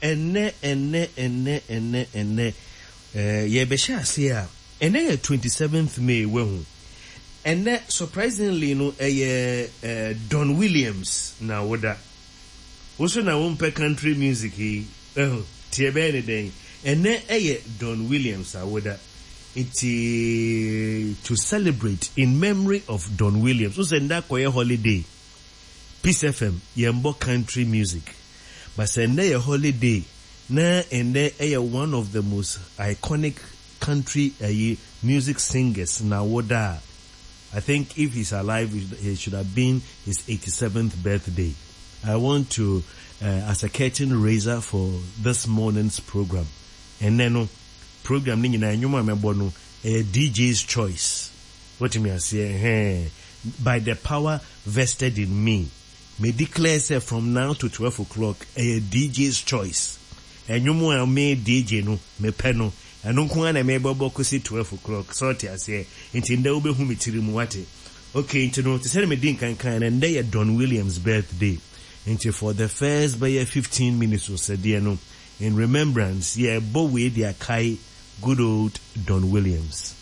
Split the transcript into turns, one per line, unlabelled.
Ɛnnɛ, ɛnnɛ, ɛnnɛ, ɛnnɛ, ɛnnɛ, eh, yɛrebɛhyɛ aseɛ a, ɛnnɛ yɛ 27th May, wahu. Ɛnnɛ, surprisingly no, ɛyɛ eh, Don Williams na woda. Wo nso na wompɛ country music yi, wahu, nti ɛbɛyɛ ne dɛn? Ɛnnɛ ɛyɛ Don Williams awoda. Nti to celebrate in memory of Don Williams, wohu sɛ nnɛ akɔyɛ holiday. Peace FM yɛnbɔ country music but sɛ nnɛ yɛ holiday na nnɛ ɛyɛ one of the most iconic country ayi music singers n'awoda a I think if he's alive it should have been his 87th birthday I want to uh, as a curtain raiser for this morning's program ɛnnɛ no program no nyinaa nnwom a mɛbɔ no ɛyɛ DJ's choice Wote me aseɛ ɛhɛɛ by the power vested in me me declare sɛ from now to 12 o'clock ɛyɛ DJ's choice ɛnwom a me DJ no me pɛ no ɛno nko ara na me bɛbɔ kɔsi 12 o'clock sɛ wote aseɛ nti ndɛ wobɛhu me tiri mu wate okay nti no te sɛdeɛ me di nkan kaeɛ no ndɛ yɛ Don Williams birthday nti for the first bɛyɛ 15 minutes osɛdeɛ no in remembrance yɛbɔ wei de akae good old Don Williams.